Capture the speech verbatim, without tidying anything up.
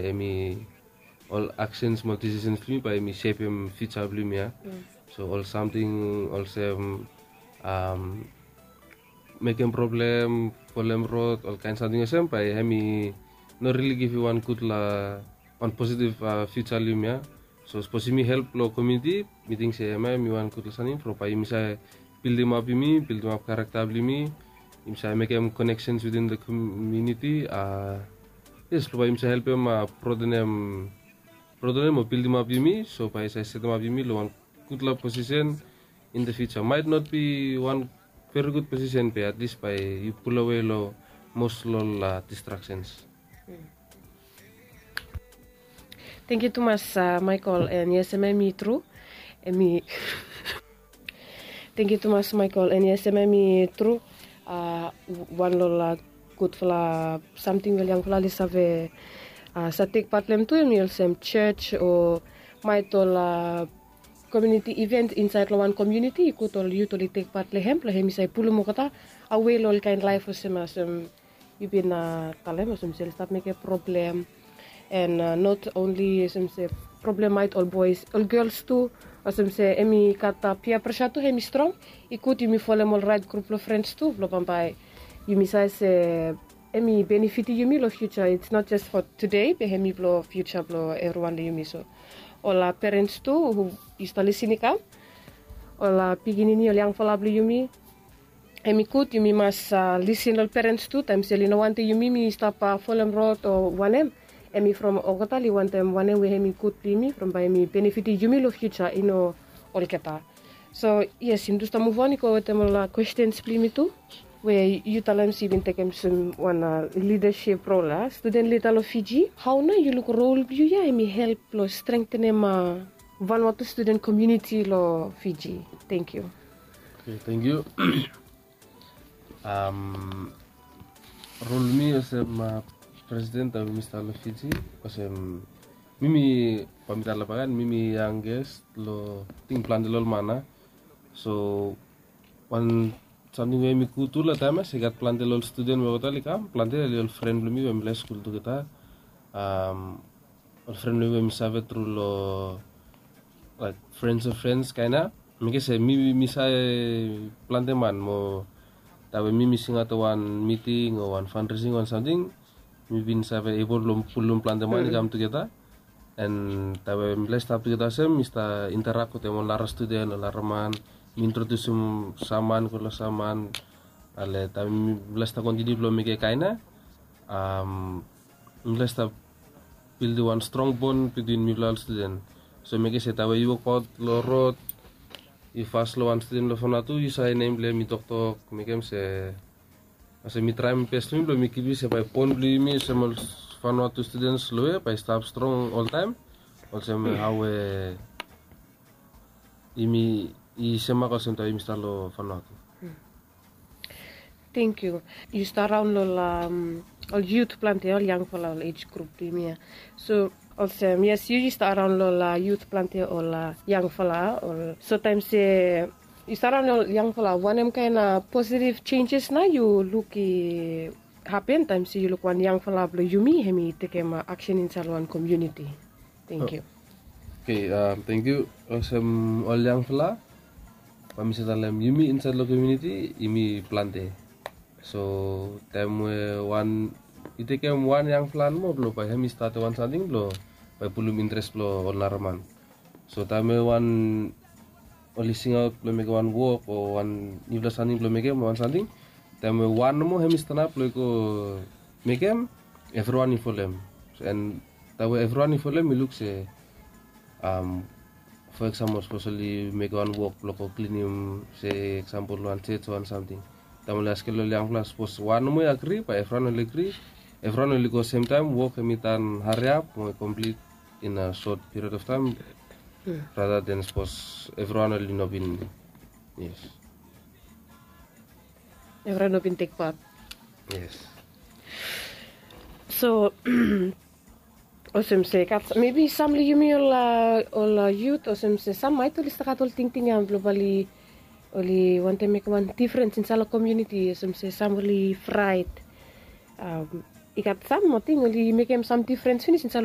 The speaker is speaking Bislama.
Hemi ol aksens mo ol disisens blong yumi bae hemi sepem fiuja blong yumi ya. So ol samting olsem mekem problem, folem rod, ol kaen samting olsem bae hemi no rili givim wan gudfala, wan positiv fiuja long yumi ya. So sapos yumi help long komuniti, mi ting se hemia hemi wan gudfala samting from bae yumi save bildimap yumi, bildimap karakta blong yumi, yumi save mekem koneksens within the komuniti. Yes, long bae yumi save helpem broadenem, broadenem o bildimap yumi, so bae i save setemap yumi long wan gudfala posisen in the future. Might not be wan very good posisen be at least bae yu pulowe long mos long ol distraksens. Tangkiu tumas Michael, and yes, hemia hemi tru. Hemi Tangkiu tumas Michael, and yes, hemia hemi tru. Wan long ol gudfala samting we ol yangfala oli save save tek pat long hem tu, hemi olsem jos o maet ol komuniti iven insaed long wan komuniti, i gud ol yut oli tek pat long hem blong hemi save pulum olgeta awe long ol kaen laef olsem, olsem yu bin talem, olsem se oli stap mekem problem. And not only olsem se problem maet ol boes, ol gels tu. Olsem se hemi gat pia presa tu, hemi strong. I gud yumi folem ol raet grup blong frens tu blong bambae yumi save se hemi benefitim yumi long fiuja. It's not just for today be hemi blong fiuja blong evriwan long yumi. So ol perens tu hu yu stap lisin i kam, ol pikinini, ol yangfala blong yumi, hemi gud yumi mas lisin long ol perens tu taem se oli no wantem yumi mi stap folem rod o wanem. Hemi from olgeta oli wantem wanem we hemi gud blong yumi from bae hemi benefitim yumi long fiuja, i no olgeta. So yes, yumi tu stap muv on i go wetem ol kwestens blong yumi tu. We yu talem se yu bin tekem olsem wan lidasip rol, a studen lida long Fiji. Hao nao yu luk rol blong yu ya hemi help long strengtenem Vanuatu studen komuniti long Fiji? Tangkiu. Okei, tangkiu. Rol blong mi olsem presiden taem we mi stap long Fiji, olsem mi, mi bae mi talem bak ya, mi, mi yangest long ting plante long ol man ya. So wan samting we hemi gud tu long taem ya se i gat plante long ol studen we olgeta oli kam, plante oli ol fren blong mi we mifala i skul tugeta. Ol fren blong mi we mi save tru long, laek, frens of frens kaen ya. Mekem se mi, mi save plante man mo taem we mi, mi singaot wan miting o wan fandresing o wan samting, mi bin save ebol blong pulum plante man i kam tugeta. And taem we mifala i stap tugeta olsem, mi stap interak wetem ol nara studen, ol nara man. Mi introdusim sam man go long sam man. Ale taem we mifala i stap kontiniu blong mekem kaen ya, mifala i stap bildim wan strong bon bitwin mifala ol studen. So mekem se taem we yu wokbaot long rod, yu pas long wan studen long Vanuatu, yu save nem blong hem, yu toktok, mekem se, olsem mi traem bes blong mi blong mi givim se bae bon blong yumi olsem ol Vanuatu studens long we bae i stap strong oltaem, olsem hao we yumi, i semak olsem taem we yumi stap long Vanuatu. Tangkiu. Yu stap raon long ol yut plante, ol yangfala, ol ej grup blong yumi ya. So olsem yes, yu, yu stap raon long ol yut plante, ol yangfala, ol, so taem se yu stap raon long ol yangfala, wanem kaen positiv jenjes nao yu luk i hapen taem se yu luk wan yangfala blong yumi hemi tekem aksen insaed long wan komuniti? Tangkiu. Okei, tangkiu. Olsem ol yangfala, bae mi save talem yumi insaed long komuniti yumi plante. So taem we wan, i tekem wan yangfala nomo blong bae hemi statem wan samting blong bae pulum interes blong ol nara man. So taem we wan oli singaot blong mekem wan wok o wan niufala samting blong mekem, wan samting, taem we wan nomo hemi stanap blong i go mekem, evriwan i folem. And taem we evriwan i folem, i luk se, fo eksampol, sapos oli mekem wan wok blong go klinim, se eksampol, wan jos o wan samting. Taem oli askem long ol yangfala, sapos wan nomo i agri, bae evriwan oli agri, evriwan oli go semtaem, wok hemi tan hariap mo i komplit in a sot piriod of taem, rather than sapos evriwan oli no bin, yes. Evriwan no bin tek pat. Yes. So olsem se gat, mebi sam long yumi ol, ol yut, olsem se sam maet oli stap gat ol tingting ya blong bae oli, oli wantem mekem wan difrens insaed long komuniti, olsem se sam oli fraet. I gat sam ating oli mekem sam difrens finis insait long